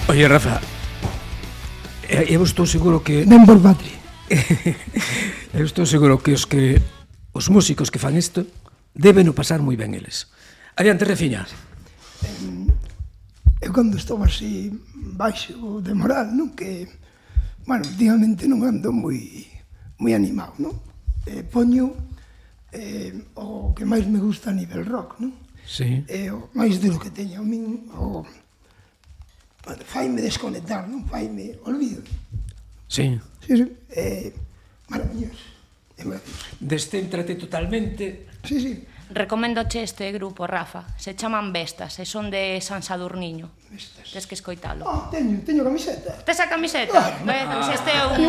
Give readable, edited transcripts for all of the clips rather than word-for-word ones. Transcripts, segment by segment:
Oye, Rafa, eu estou seguro que... Ben por patria. Eu estou seguro que os músicos que fan isto deben o pasar moi ben eles. Adiante, Refiña. Eu cando estou así baixo de moral, non? Que, bueno, últimamente non ando moi animado, non? Poño o que máis me gusta a nivel rock, non? Sí. O máis de lo que teño a min, faime desconectar, non? Faime olvido. Sí. Sí, sí. Maravilloso. Descéntrate totalmente. Sí, sí. Recoméndoche este grupo, Rafa. Se chaman Vestas e son de San Sadurniño. Vestas. Tes que escoitalo. Teño camiseta. Tes a camiseta?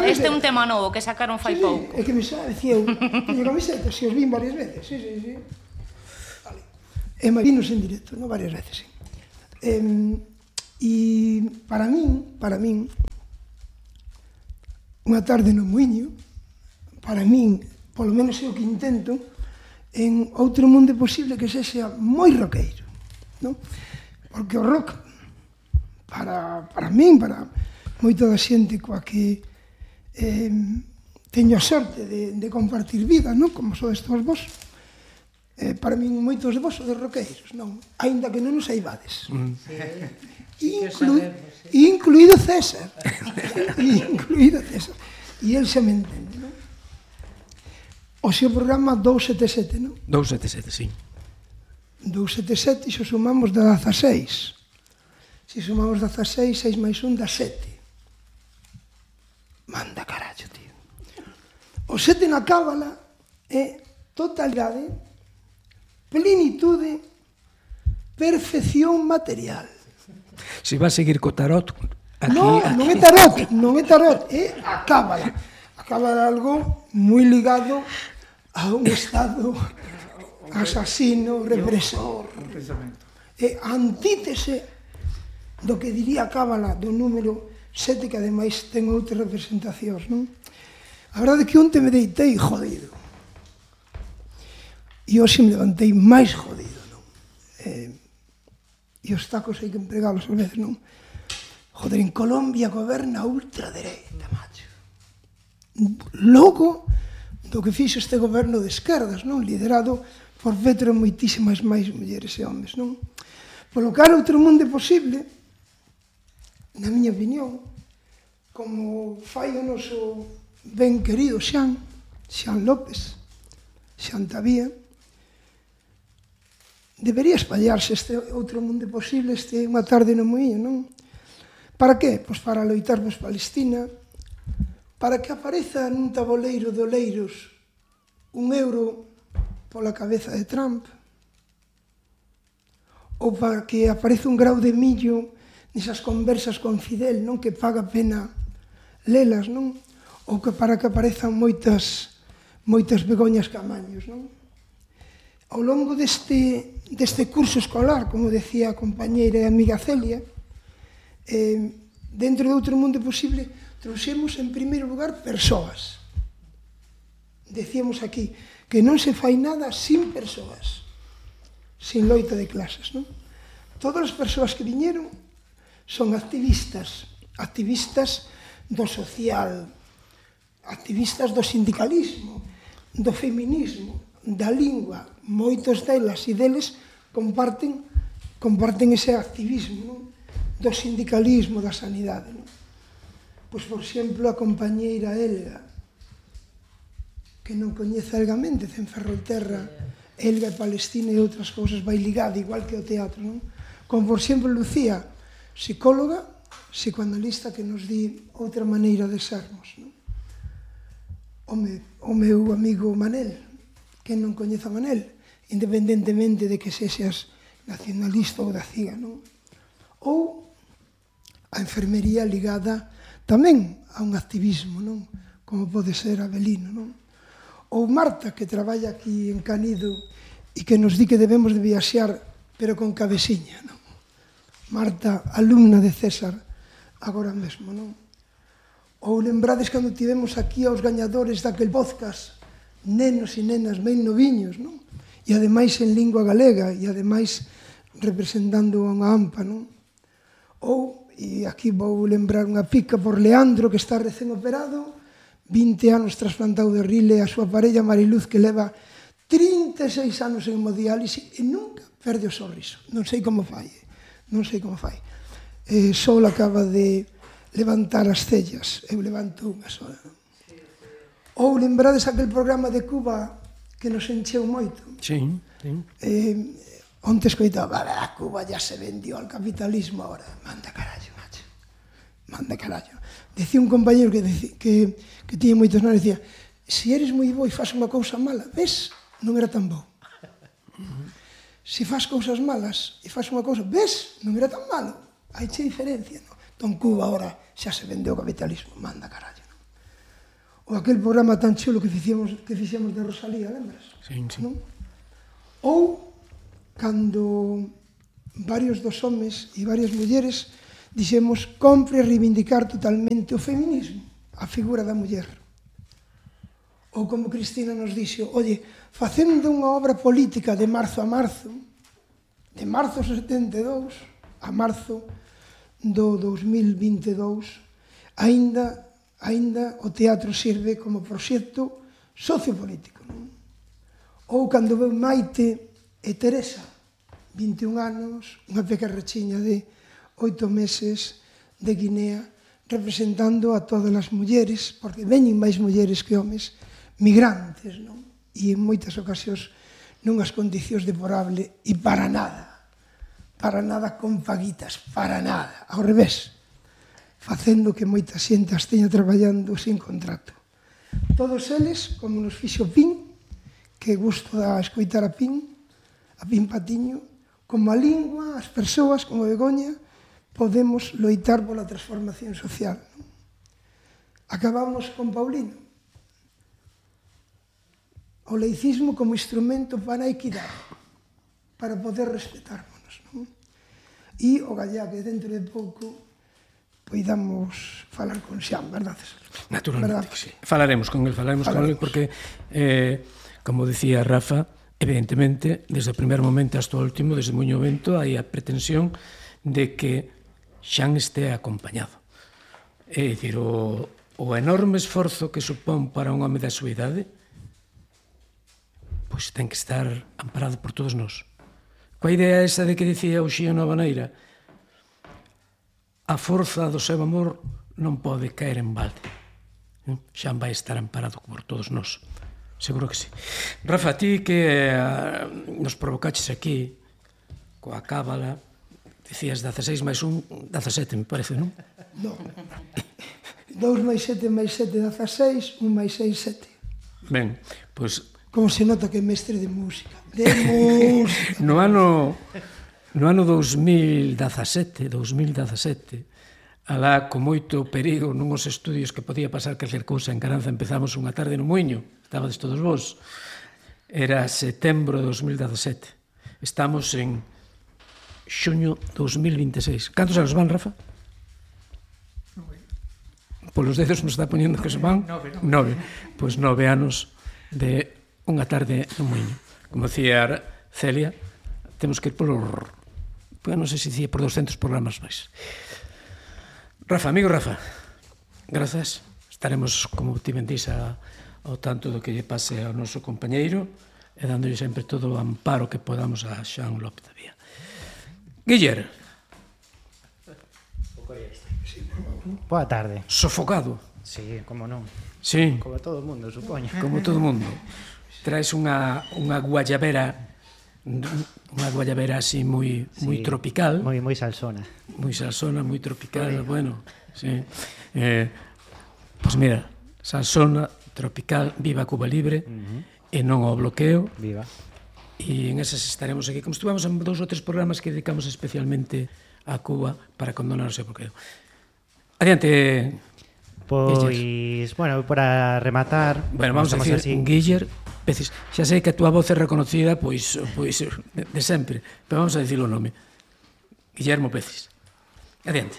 Este é un tema novo que sacaron fai pouco. É que me decía eu, teño camiseta, se os vin varias veces, sí. Vale. E me vinos en directo, non? Varias veces, sí. E para min, unha tarde no Muiño, para min, polo menos é o que intento, en outro mundo posible que sexa moi roqueiro, non? Porque o rock, para min, para moita da xente coa que teño a sorte de compartir vida, non? Como sodes todos vos, para min moitos de vos sodes roqueiros, non? Aínda que non os saibades. Incluído César. E el xa me entende, non? O seu programa 277, non? 277, sí. 277, e xo sumamos da 16. Se sumamos 16, 6 máis 1 dá 7. Manda carallo, tío. O 7 na cábala é totalidade, plenitude, perfección material. Se vas seguir co tarot... Aquí, non é tarot, é a cábala. A cábala é algo moi ligado a un estado asasino, represor. É a antítese do que diría a cábala do número 7, que ademais ten outras representacións, non? A verdade é que onte me deitei jodido. E hoxe me levantei máis jodido, non? E os tacos hai que empregalos ás veces, non? Joder, en Colombia goberna a ultradereita, macho. Logo do que fixo este goberno de esquerdas, non? Liderado por Petro e moitísimas máis mulleres e homes, non? Polo que outro mundo posible, na miña opinión, como fai o noso ben querido Xan López, Xan Tavía, debería espallarse este outro mundo posible, este unha tarde no Muiño, non? Para que? Pois para loitar por Palestina, para que apareza nun taboleiro de oleiros €1 pola cabeza de Trump, ou para que apareza un grau de millo nesas conversas con Fidel, non? Que paga pena lelas, non? Ou que para que aparezan moitas Begoñas Camaños, non? Ao longo deste curso escolar, como decía a compañeira e amiga Celia, dentro de outro mundo posible, trouxemos en primeiro lugar persoas. Decíamos aquí que non se fai nada sin persoas, sin loita de clases, non? Todas as persoas que viñeron son activistas do social, activistas do sindicalismo, do feminismo, da lingua. Moitos delas e deles comparten ese activismo, non? Do sindicalismo, da sanidade, non? Pois, por exemplo, a compañeira Elga, que non coñece Elga Méndez, en Ferrolterra, Elga e Palestina e outras cousas vai ligada, igual que o teatro, non? Como, por exemplo, Lucía, psicóloga, psicoanalista, que nos di outra maneira de sermos, non? O meu amigo Manel, que non coñece a Manel, independentemente de que sexas nacionalista ou da CIGA, non? Ou a enfermería ligada tamén a un activismo, non? Como pode ser Abelino, non? Ou Marta, que traballa aquí en Canido e que nos di que debemos de viaxar, pero con cabeciña, non? Marta, alumna de César, agora mesmo, non? Ou lembrades cando tivemos aquí aos gañadores daquel podcast, nenos e nenas ben noviños, non? E ademais en lingua galega, e ademais representando a unha AMPA, non? Ou e aquí vou lembrar unha pica por Leandro, que está recén operado, 20 anos trasplantado de rile, a súa parella Mariluz, que leva 36 anos en hemodiálise e nunca perde o sorriso. Non sei como fai, non sei como fai. Sol acaba de levantar as cellas, eu levanto unha sola. Ou lembrades aquel programa de Cuba que nos encheu moito? Sí, sí. Onte escoitaba, a Cuba ya se vendió al capitalismo ahora. Manda carallo, macho. Manda carallo. Decía un compañero que tiña moitos anos, decía, se eres moi bo e faz unha cousa mala, ves, non era tan bo. Se faz cousas malas e faz unha cousa, ves, non era tan malo. Hai che diferencia, non? Entón Cuba ahora xa se vendeu o capitalismo, manda carallo, non? Ou aquel programa tan chulo que fixemos de Rosalía, lembras? Sí, sí. Non? Ou cando varios dos homes e varias mulleres dixemos compre reivindicar totalmente o feminismo, a figura da muller. Ou como Cristina nos dixo, oye, facendo unha obra política de marzo a marzo, de marzo 72 a marzo do 2022, aínda o teatro sirve como proxecto sociopolítico. Non? Ou cando veu Maite e Teresa, 21 anos, unha pequerrechiña de 8 meses de Guinea, representando a todas as mulleres, porque veñen máis mulleres que homes, migrantes, non? E en moitas ocasións nunhas condicións deplorable e para nada con paguitas, para nada, ao revés, facendo que moita xente as teña traballando sin contrato. Todos eles, como nos fixo Pin, que gusto da escoitar a Pin Patiño, como a lingua, as persoas, como Begoña, podemos loitar pola transformación social. Acabamos con Paulino. O laicismo como instrumento para a equidade, para poder respetarnos. Non? E o gallá que dentro de pouco poidamos falar con Xan, verdad, César? Naturalmente, que sí. Falaremos con él, porque, como decía Rafa, evidentemente, desde o primer momento hasta o último, desde Muño Vento, hai a pretensión de que Xan este acompañado. É dicir, o enorme esforzo que supón para un home da súa idade, pois ten que estar amparado por todos nós. Coa idea esa de que dicía o Xío Navaneira, a forza do seu amor non pode caer en balde. Xan vai estar amparado por todos nós. Seguro que sí. Rafa, ti que nos provocaches aquí coa cábala, dicías 16 máis 1, 17, me parece, non? Non. 2 máis 7 máis 7, 16, 1 máis 6, 7. Ben, pois... Como se nota que é mestre de música. De música. No ano 2017, alá con moito perigo nunhos estudios que podía pasar calquer cousa en Caranza, empezamos unha tarde no Muiño, estabades todos vos, era setembro de 2017, estamos en xuño 2026. Cantos anos van, Rafa? 9. Polos dedos me está poñendo que se van 9. Pois 9 anos de unha tarde no Muiño. Como decía Celia, temos que ir por non sei se dicía por 200 programas máis. Rafa, amigo Rafa, grazas. Estaremos, como ti ben dís, ao tanto do que lle pase ao noso compañeiro e dándolle sempre todo o amparo que podamos a Xan López da Vía. Guiller. Boa tarde. Sofocado. Sí, como non. Sí. Como todo o mundo, supoño. Como todo o mundo. Traes unha guayabera así moi tropical. Moi salsona. Moi salsona, moi tropical, bueno, sí. Pois mira, salsona, tropical, viva Cuba Libre, e non ao bloqueo. Viva. E en esas estaremos aquí, como estuvamos en 2 ou 3 programas que dedicamos especialmente a Cuba para condonar o seu bloqueo. Adiante. Pois, bueno, para rematar... Bueno, vamos a decir, Guiller, veces, xa sei que a túa voz é reconocida, pois de sempre, pero vamos a dicir o nome. Guillermo Pecis. Adiante.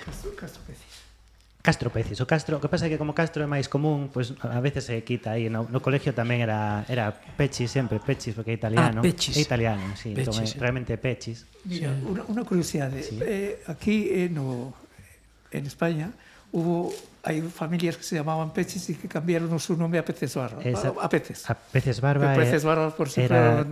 Castro Pecis. O Castro, o que pasa é que como Castro é máis común, pois a veces se quita aí. No colegio tamén era Pechis sempre, Pechis, porque é italiano. Pechis. É italiano, sí. Pechis, realmente Pechis. Mira, unha curiosidade. Sí. Aquí no en España hay familias que se llamaban Peches y que cambiaron su nombre a Peces Barba. A Peces. A Peces Barba. Peces Barba por si era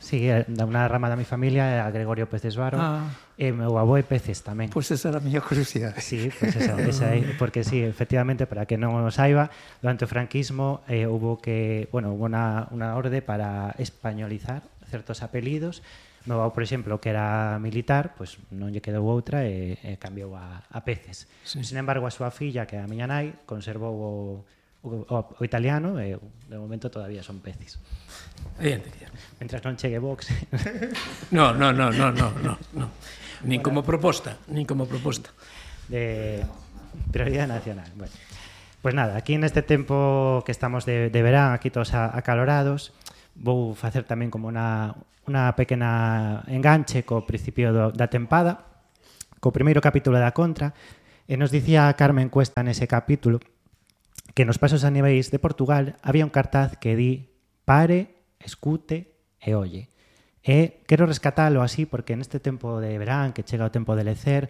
sí, da unha rama da mi familia, era Gregorio Peces Barba. E meu avó é Peces tamén. Pois esa era a miña curiosidade. Sí, pues esa é, porque sí, efectivamente, para que non o saiba, durante o franquismo hubo unha orde para españolizar certos apelidos. Meu avó, por exemplo, que era militar, pois non lle quedou outra e cambiou a Peces. Sí. Sin embargo, a súa filla, que é a miña nai, conservou o italiano e de momento todavía son Peces. Mentras non chegue Vox. No. Nin como proposta. De prioridade nacional. Bueno. Pois nada, aquí neste tempo que estamos de verán, aquí todos acalorados, vou facer tamén como unha pequena enganche co principio da tempada, co primeiro capítulo da Contra, e nos dicía Carmen Cuesta nese capítulo que nos pasos a niveis de Portugal había un cartaz que di pare, escute e olle. E quero rescatalo así porque neste tempo de verán, que chega o tempo de lecer,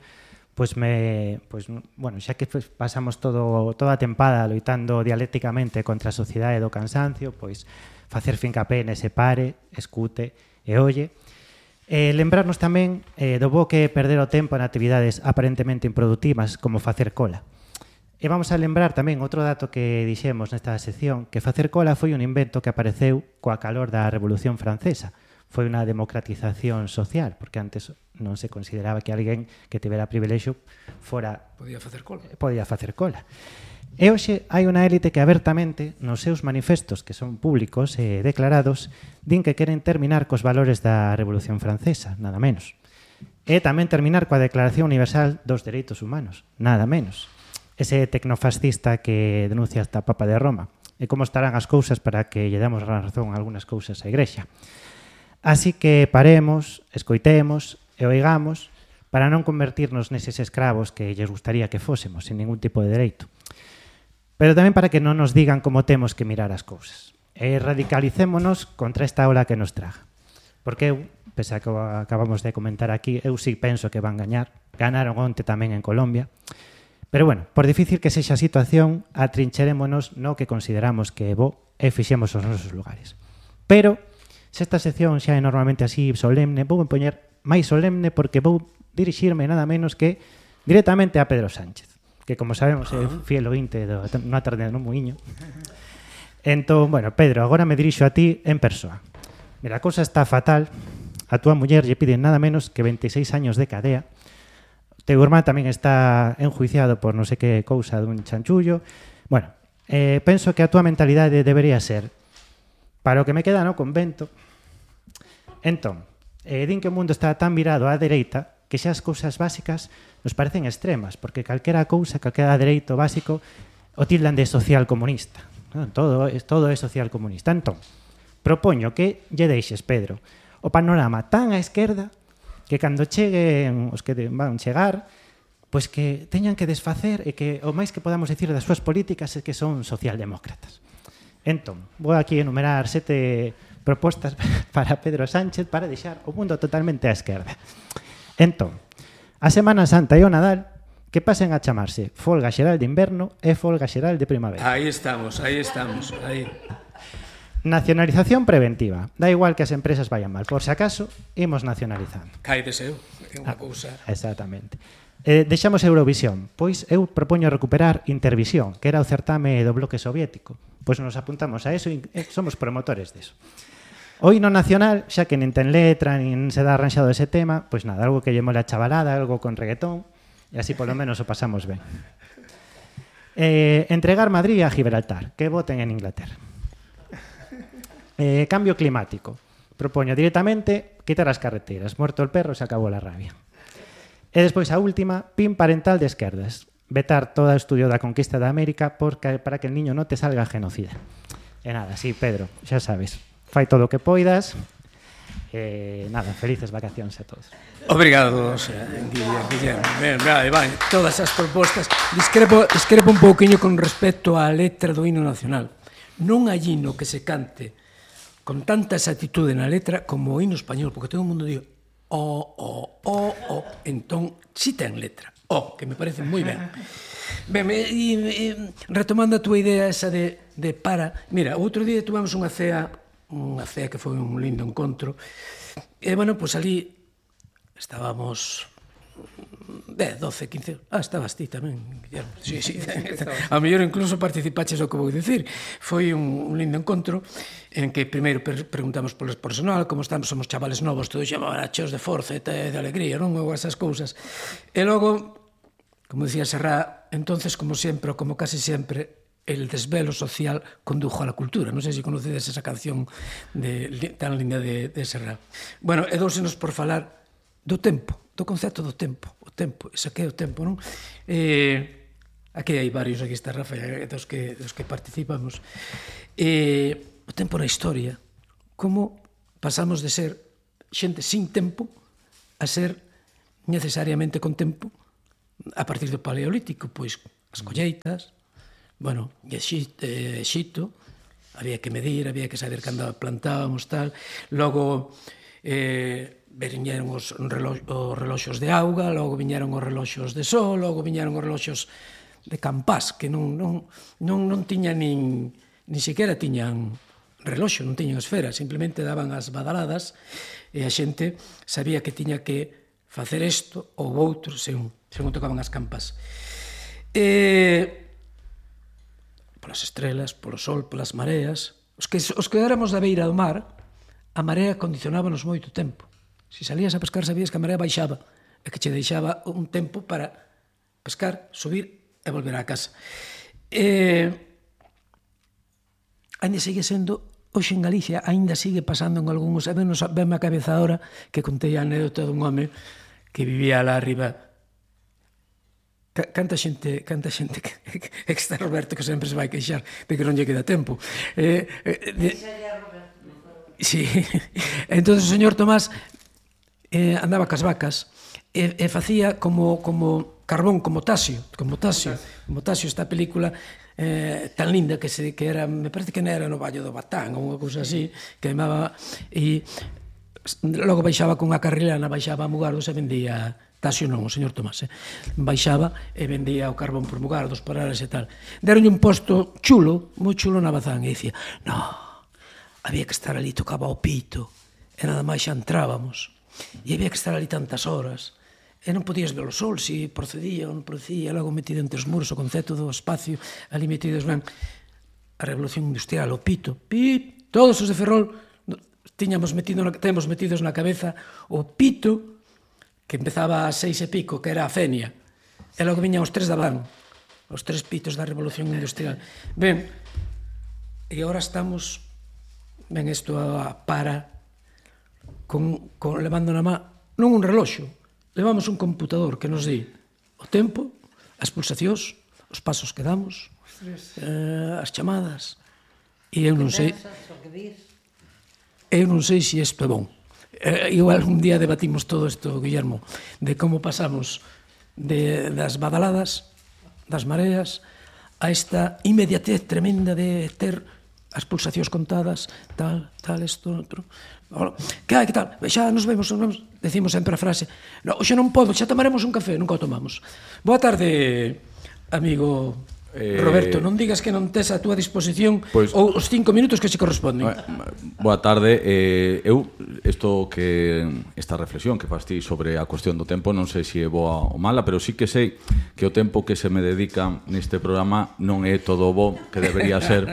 xa que pasamos toda a tempada loitando dialécticamente contra a sociedade do cansancio, pois facer fincapé nese pare, escute e olle. Lembrarnos tamén do bo que perder o tempo en actividades aparentemente improductivas como facer cola. E vamos a lembrar tamén outro dato que dixemos nesta sección, que facer cola foi un invento que apareceu coa calor da Revolución Francesa. Foi unha democratización social, porque antes non se consideraba que alguén que tivera privilexio podía facer cola. E hoxe hai unha élite que abertamente, nos seus manifestos, que son públicos e declarados, din que queren terminar cos valores da Revolución Francesa, nada menos. E tamén terminar coa Declaración Universal dos Dereitos Humanos, nada menos. Ese tecnofascista que denuncia hasta Papa de Roma. E como estarán as cousas para que lle damos razón a algunhas cousas á Igrexa. Así que paremos, escoitemos e oigamos para non convertirnos neses escravos que lles gustaría que fósemos, sin ningún tipo de dereito. Pero tamén para que non nos digan como temos que mirar as cousas. E radicalicémonos contra esta ola que nos traga. Porque eu, pese a que acabamos de comentar aquí, eu sí penso que van gañar. Ganaron onte tamén en Colombia. Pero bueno, por difícil que sexa a situación, atrincherémonos no que consideramos que é bo e fixemos os nosos lugares. Pero se esta sección xa é normalmente así solemne, vou poñer máis solemne porque vou dirixirme nada menos que directamente a Pedro Sánchez, que como sabemos é fiel ointe dunha tarde no Muiño. Entón, bueno, Pedro, agora me dirixo a ti en persoa. Mira, a cousa está fatal. A túa muller lle piden nada menos que 26 años de cadea. O teu irmán tamén está enjuiciado por non sei que cousa dun chanchullo. Bueno, penso que a túa mentalidade debería ser para o que me queda no convento. Entón, din que o mundo está tan virado á dereita que xa as cousas básicas nos parecen extremas, porque calquera cousa, calquera dereito básico o tildan de social comunista. Todo é social comunista. Entón, propoño que lle deixes, Pedro, o panorama tan á esquerda que cando cheguen os que van chegar, pois que teñan que desfacer e que o máis que podamos dicir das súas políticas é que son socialdemócratas. Entón, vou aquí enumerar 7 propostas para Pedro Sánchez para deixar o mundo totalmente á esquerda. Entón, a Semana Santa e o Nadal que pasen a chamarse folga xeral de inverno e folga xeral de primavera. Aí estamos. Nacionalización preventiva. Da igual que as empresas vayan mal. Por si acaso, imos nacionalizando. Cai deseo, é unha cousa. Exactamente. Deixamos Eurovisión. Pois eu propoño recuperar Intervisión, que era o certame do bloque soviético. Pois nos apuntamos a eso e somos promotores deso. O hino nacional, xa que nin ten letra, nin se dá arranxado ese tema, pois nada, algo que lle mole a chavalada, algo con reggaetón, e así polo menos o pasamos ben. Entregar Madrid a Gibraltar, que voten en Inglaterra. Cambio climático. Propoño directamente quitar as carreteras. Muerto el perro, se acabou la rabia. E despois a última, pin parental de esquerdas. Vetar todo o estudio da conquista de América para que el niño non te salga genocida. E nada, sí, Pedro, xa sabes. Fai todo o que poidas. Nada, felices vacacións a todos. Obrigado, Guillermo. Vai, todas as propostas. Discrepo un pouquiño con respecto á letra do hino nacional. Non hai hino que se cante con tanta exactitude na letra como o hino español, porque todo o mundo di entón, si ten letra. Que me parece moi ben. Ben, retomando a túa idea esa de para... Mira, outro día tuvamos unha cea que foi un lindo encontro, e, bueno, pois ali estábamos 10, 12, 15... estabas ti tamén, Guillermo. Sí. A mellor incluso participaches o que vou dicir. Foi un lindo encontro en que primeiro preguntamos polo personal, como estamos, somos chavales novos, todos chamaban cheos de forza e de alegría, non? Ou esas cousas. E logo, como dicía Serrat, entonces, como sempre, ou como casi sempre, el desvelo social condujo a la cultura. Non sei se conocedes esa canción tan linda de Serrat. Bueno, e dóusenos por falar do tempo, do concepto do tempo. O tempo, ese que é o tempo, non? Aquí hai varios, aquí está Rafa, dos que participamos. O tempo na historia, como pasamos de ser xente sin tempo a ser necesariamente con tempo a partir do Paleolítico, pois as colleitas, bueno, Exito, había que medir, había que saber cando plantábamos, tal. Logo, viñeron os reloxos de auga, logo viñeron os reloxos de sol, logo viñeron os reloxos de campás, que non tiñan nin sequera tiñan reloxo, non tiñan esfera, simplemente daban as badaladas e a xente sabía que tiña que facer isto ou outro según tocaban as campas. Polas estrelas, polo sol, polas mareas. Os que éramos da beira do mar, a marea condicionábanos moito tempo. Se salías a pescar sabías que a marea baixaba e que che deixaba un tempo para pescar, subir e volver á casa. Ainda sigue sendo, hoxe en Galicia, ainda sigue pasando en algúns, venme a cabeza ahora que contei a anécdota dun home que vivía lá arriba. Canta xente que está Roberto que sempre se vai queixar de que non lle queda tempo. Sí. Entón o señor Tomás andaba cas vacas e facía como carbón, como Tasio, esta película tan linda que era, me parece que non era no Vallo do Batán ou unha cousa así, queimaba e logo baixaba con a carrilana, baixaba a Mugardos e vendía. Tasio non, o señor Tomás, baixaba e vendía o carbón por Mugardos, por Ares e tal. Deronlle un posto chulo, moi chulo na Bazán, e dicía, no, había que estar ali, tocaba o pito, e nada máis xa entrábamos, e había que estar ali tantas horas, e non podías ver o sol, se procedía ou non procedía, logo metido entre os muros, o concepto do espacio, ali metidos, ben, a revolución industrial, o pito, pip, todos os de Ferrol, temos metidos na cabeza o pito, que empezaba a 6 e pico, que era a Fenia, e logo viñan os 3 da van, os 3 pitos da revolución industrial. Ben, e agora estamos, ben, isto para, levando na má, non un reloxo, levamos un computador que nos di o tempo, as pulsacións, os pasos que damos, as chamadas, e eu non sei se isto é bon. Igual un día debatimos todo isto, Guillermo, de como pasamos das badaladas, das mareas, a esta inmediatez tremenda de ter as pulsacións contadas, tal, isto, outro. Que hai, que tal? Xa nos vemos, decimos sempre a frase, xa non podo, xa tomaremos un café, nunca o tomamos. Boa tarde, amigo Roberto, non digas que non tes a túa disposición ou os 5 minutos que se corresponden. Boa tarde. Esta reflexión que fas ti sobre a cuestión do tempo non sei se é boa ou mala, pero sí que sei que o tempo que se me dedica neste programa non é todo o bo que debería ser.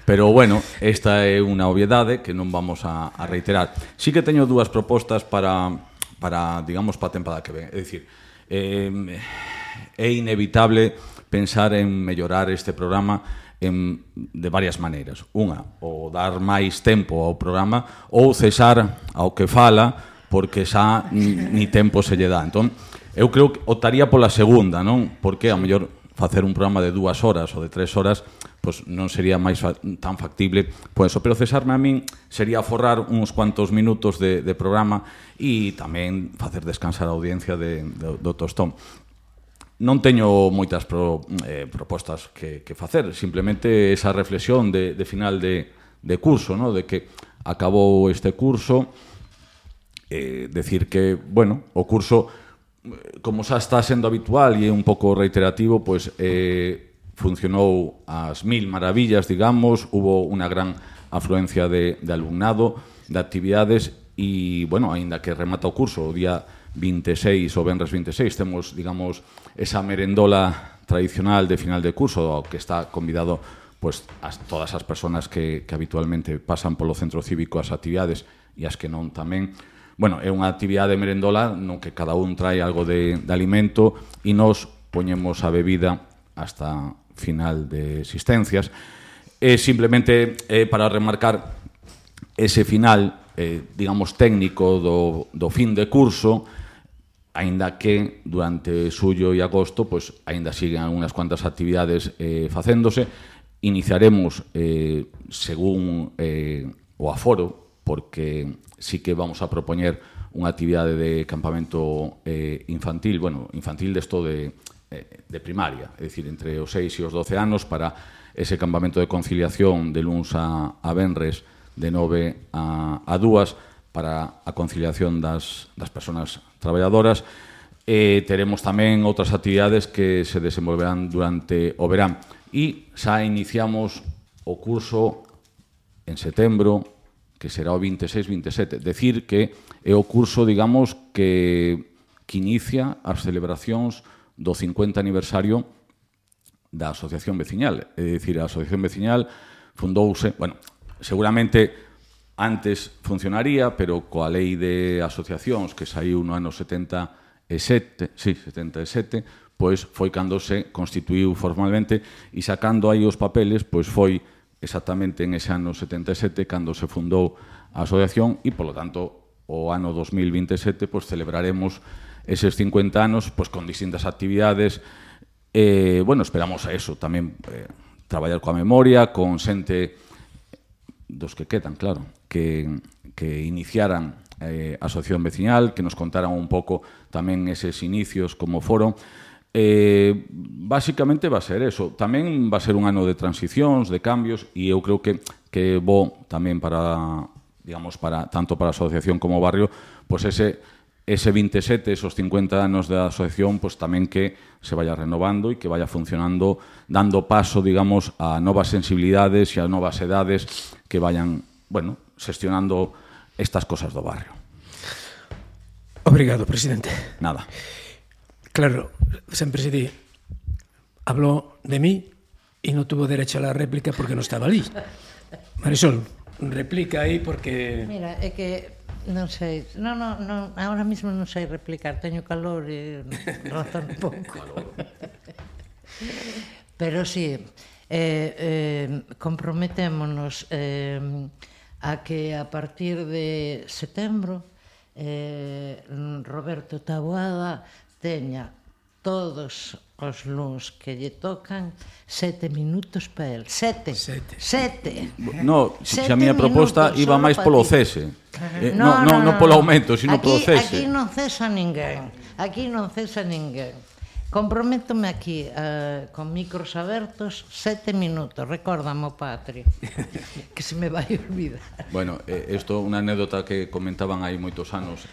Pero, bueno, esta é unha obviedade que non vamos a reiterar. Sí que teño dúas propostas para digamos, para a tempada que ven. É dicir, é inevitable pensar en mellorar este programa de varias maneiras. Unha, ou dar máis tempo ao programa, ou cesar ao que fala, porque xa ni tempo se lle dá. Entón, eu creo que optaría pola segunda, non? Porque, a mellor, facer un programa de 2 horas ou de 3 horas pois non sería máis tan factible pois eso, pero cesarme a min sería forrar uns cuantos minutos de programa e tamén facer descansar a audiencia do tostón. Non teño moitas propostas que facer, simplemente esa reflexión de final de curso, no? De que acabou este curso decir que, bueno, o curso, como xa está sendo habitual e é un pouco reiterativo, pois funcionou ás mil maravillas, digamos, hubo unha gran afluencia de alumnado, de actividades, e, bueno, aínda que remata o curso o día 26 ou venres 26, temos, digamos, esa merendola tradicional de final de curso, ao que está convidado pois todas as persoas que habitualmente pasan polo centro cívico as actividades e as que non tamén. Bueno, é unha actividade merendola no que cada un trae algo de alimento e nos poñemos a bebida hasta final de existencias. Simplemente para remarcar ese final, digamos, técnico do fin de curso, aínda que durante xullo e agosto pois aínda siguen unhas cuantas actividades facéndose. Iniciaremos según o aforo, porque sí que vamos a propoñer unha actividade de campamento infantil, bueno, infantil desto de primaria, é dicir, entre os 6 e os 12 anos, para ese campamento de conciliación de luns a venres de 9 a 2, para a conciliación das persoas traballadoras. Teremos tamén outras actividades que se desenvolverán durante o verán. E xa iniciamos o curso en setembro, que será o 26-27. Decir que é o curso, digamos, que inicia as celebracións do 50 aniversario da Asociación Veciñal. É dicir, a Asociación Veciñal fundouse, bueno, seguramente antes funcionaría, pero coa lei de asociacións que saiu no ano 77, pois foi cando se constituíu formalmente, e sacando aí os papeles, pois foi exactamente en ese ano 77 cando se fundou a asociación, e, polo tanto, o ano 2027 pois celebraremos eses 50 anos pois con distintas actividades. Bueno, esperamos a eso, tamén traballar coa memoria, con xente dos que quedan, claro, que iniciaran a Asociación Veciñal, que nos contaran un pouco tamén eses inicios como foron. Basicamente va a ser eso. Tamén va a ser un ano de transicións, de cambios, e eu creo que é bo tamén para, digamos, tanto para a asociación como o barrio, pois ese 27, esos 50 anos da asociación, pois tamén que se vaya renovando e que vaya funcionando, dando paso, digamos, a novas sensibilidades e a novas edades que vayan, bueno, xestionando estas cosas do barrio. Obrigado, presidente. Nada. Claro, sempre se di, habló de mí y no tuvo derecho a la réplica porque no estaba ali. Marisol, replica aí porque... Mira, é que non sei, non, ahora mismo non sei replicar, teño calor e razón un pouco. Pero sí, comprometémonos a que a partir de setembro Roberto Taboada teña todos os luns que lle tocan 7 minutos para el. 7. No, se a miña proposta iba máis polo cese. Non polo aumento, sino polo cese. Aquí non cesa ninguén. Comprométome aquí, con micros abertos, 7 minutos. Recórdame, Patri, que se me vai olvidar. Bueno, isto é unha anécdota que comentaban hai moitos anos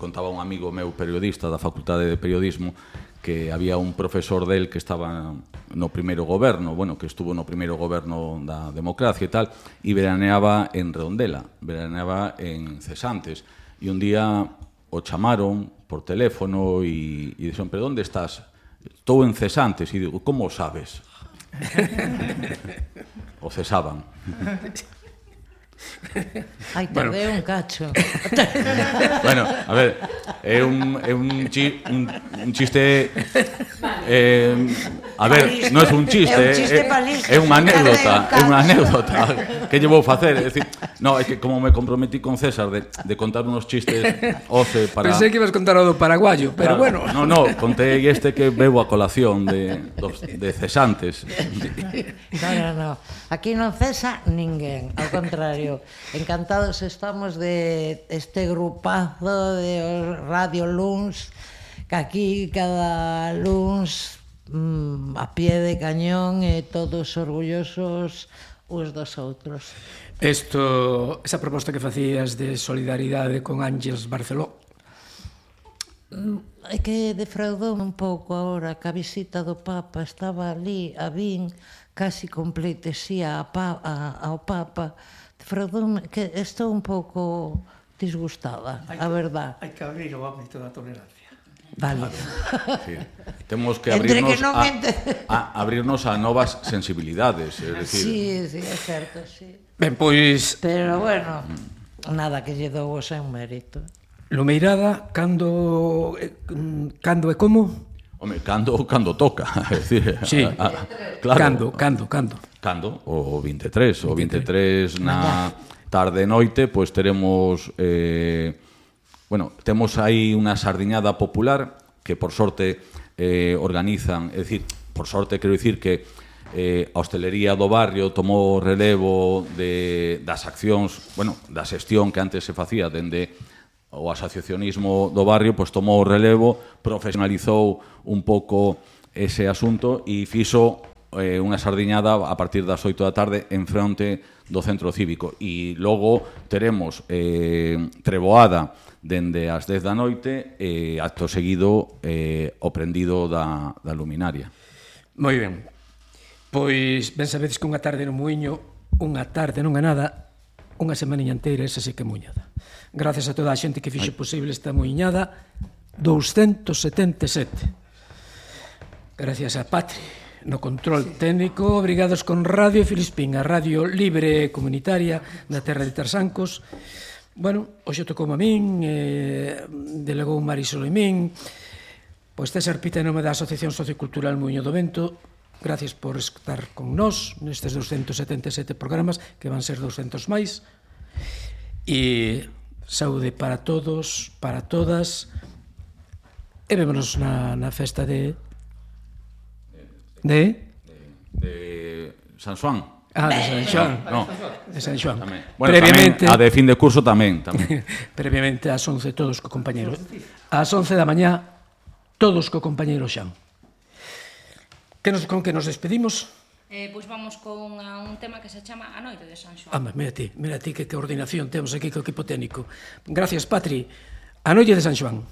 contaba un amigo meu periodista da Facultade de Periodismo que había un profesor del que estaba no primeiro goberno, bueno, que estuvo no primeiro goberno da democracia e tal, e veraneaba en Redondela, veraneaba en Cesantes, e un día o chamaron por teléfono e dixeron, pero onde estás? Estou en Cesantes, e digo, como o sabes? O cesaban. Ai, tardei un cacho. Bueno, a ver, é un chiste... a ver, non é un chiste, é unha anécdota que lle vou facer, é dicir, no, é que como me comprometí con César de contar unos chistes oce para... Pensei que ibas contar o do paraguayo, pero bueno. No, contei este que bebo a colación de cesantes. No, aquí non cesa ninguén, ao contrario. Encantados estamos de este grupazo de Radio Luns, que aquí cada luns a pie de cañón e todos orgullosos uns dos outros. Esa proposta que facías de solidaridade con Ángeles Barceló, É que defraudou un pouco agora que a visita do Papa estaba ali, a vin casi con pleitesía ao Papa. Defraudoume que estou un pouco disgustada, a verdad. Hai que abrir o ámbito da tolerancia. Vale. Sí. Temos que Entre abrirnos que non abrirnos a novas sensibilidades, é dicir. Sí, é certo, sí. ben, pois, Pero bueno, nada que lle dou o seu mérito. Lumeirada, cando e como? Home, cando toca, é dicir, Sí, claro. Cando? O 23, o 23 na tarde e noite, pois teremos temos aí unha sardiñada popular que por sorte organizan, é dicir, por sorte quero dicir que a hostelería do barrio tomou relevo das accións, da xestión que antes se facía dende o asociacionismo do barrio, pois tomou o relevo, profesionalizou un pouco ese asunto e fixo unha sardiñada a partir das 8 da tarde en fronte do centro cívico. E logo teremos treboada dende as 10 da noite e acto seguido o prendido da luminaria. Moi ben. Pois, ben sabedes que unha tarde no Muiño, unha tarde non é nada, unha semaniña inteira, esa sí que é muiñada. Gracias a toda a xente que fixo posible esta muiñada 277. Gracias a Patri no control técnico. Obrigados con Radio Filispín, a radio libre e comunitaria da terra de Tarsancos. Bueno, hoxe tocou a min, delegou Marisol e min. Pois César Pita, en nome da Asociación Sociocultural Muiño do Vento, gracias por estar con nós nestes 277 programas, que van ser 200 máis. E saúde para todos, para todas, e vémonos na festa de San Xoán. De San Xoán. No. De San Xoán. Bueno, previamente, tamén, a de fin de curso tamén. Previamente ás 11 todos co compañeiro. Ás 11 da mañá todos co compañeiro Xan. Con que nos despedimos? Pois vamos con un tema que se chama A Noite de San Xoán. Mira ti que coordinación temos aquí co equipo técnico. Gracias, Patri. A Noite de San Xoán.